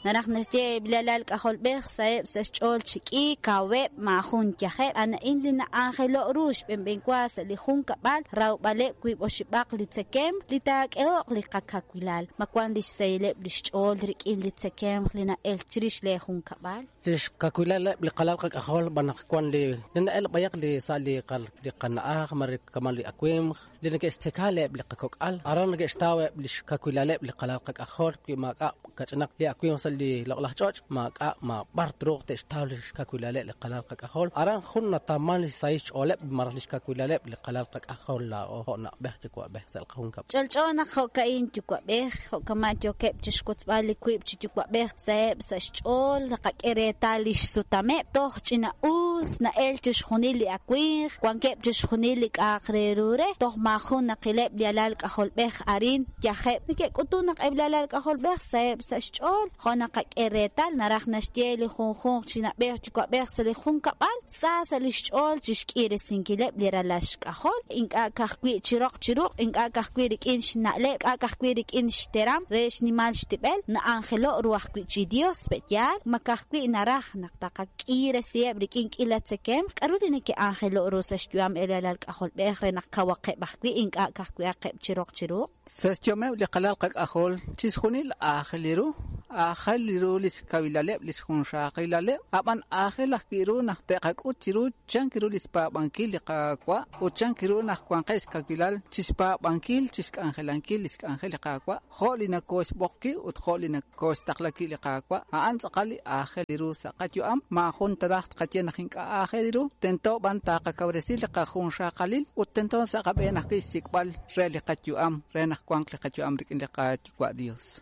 Naraj naxye eb' li alal k'ajolb'ej saheb' sa' xch'ool chi k'iik, kaweb', maajun yajeb'. A'an a'in li na'anjelo' ru xb'enb'enwa sa' li junkab'al, rawb'aleb' wiib' oxib'aq li tzekemq li taak'eho'q li qakawilal. Ma wan li xsahileb' li xch'ool rik'in li tzekemq li na'el chirix lee junkab'al? Li xkawilaleb' li qalal qak'ajol b'an naq wan li na'el b'ayaq li sa' li li qana'aj mare kama' li awimq li neke'xtzeka eb' li qakok'al aran neke'xtaw eb' li xkawilaleb' li qalal qak'ajol wi maak'a' kach'inaq li awimq sa' li loq'laj ch'och' maak'a' maab'ar truuq te'xtaw li xkawilaleb' li qalal qak'ajol aran jun natawman li xsahil xch'ooleb' malaj li xkawilaleb' li qalal qak'ajol laa'o jo' na'b'ej yuwa'b'ej sa' li qajunkab'al. Ch'olch'o naq jo'ka'in yuwa'b'ej, jo'kama' yookeb' chixwotzb'al li wiib' chi yuwa'b'ej saheb' sa' xch'ool, naqak'e reetal li xsutameb', toj ch'ina-us na'el chixjunil li awimq, wankeb' chixjunil li k'a'aq re ru re, toj maajun naqileb' li alal k'ajolb'ej arin yajeb'. Neke'k'utun naq eb' li alal k'ajolb'ej saheb' sa' xch'ool, jo' naqak'e reetal naraj naxye li junjunq chi na'b'ej yuwa'b'ej sa' li junkab'al sa sa' li xch'ool chi xk'iresinkileb' li ralal xk'ajol, ink'a' ka'ajwi' chi roq chi ruq', ink'a' ka'ajwi' rik'in xna'leb', ink'a' ka'ajwi' rik'in xteram re xnimal xtib'el, na'anjelo' ru ajwi' chi Dios pe'yaal, ma ka'ajwi' naraj naq taqak'iresiheb' rik'in k'ila tzekemq, k'aru li neke'anjelo' ru sa' xyu'am eb' li alal k'ajolb'ej re naq kawaqeb' ajwi' ink'a' ka'ajwi'aqeb' chi roq chi ruq'? Sa' xyu'ameb' li qalal qak'ajol chixjunil aajel ru, aajel ru li xkawilaleb' li xjunxaqilaleb', ab'an aajel ajwi' ru naq te'qak'ut chiru chan ru li xpaab'ankil li Qaawa' ut chan ru naq wanqeb' xkawilal chixpaab'ankil chixk'anjelankil li xk'anjel li Qaawa' jo' li nakooxb'oq wi' ut jo' li nakooxtaqla wi' li Qaawa', a'an tz'aqal li aajel ru sa' qayu'am, maajun taraj tqaye naq ink'a' aajel ru, tento b'an taqakawresi li qajunxaqalil ut tento sa' qab'een ajwi' xsik'b'al re li qayu'am re naq wanq li qayu'am rik'in li Qayuwa' Dios.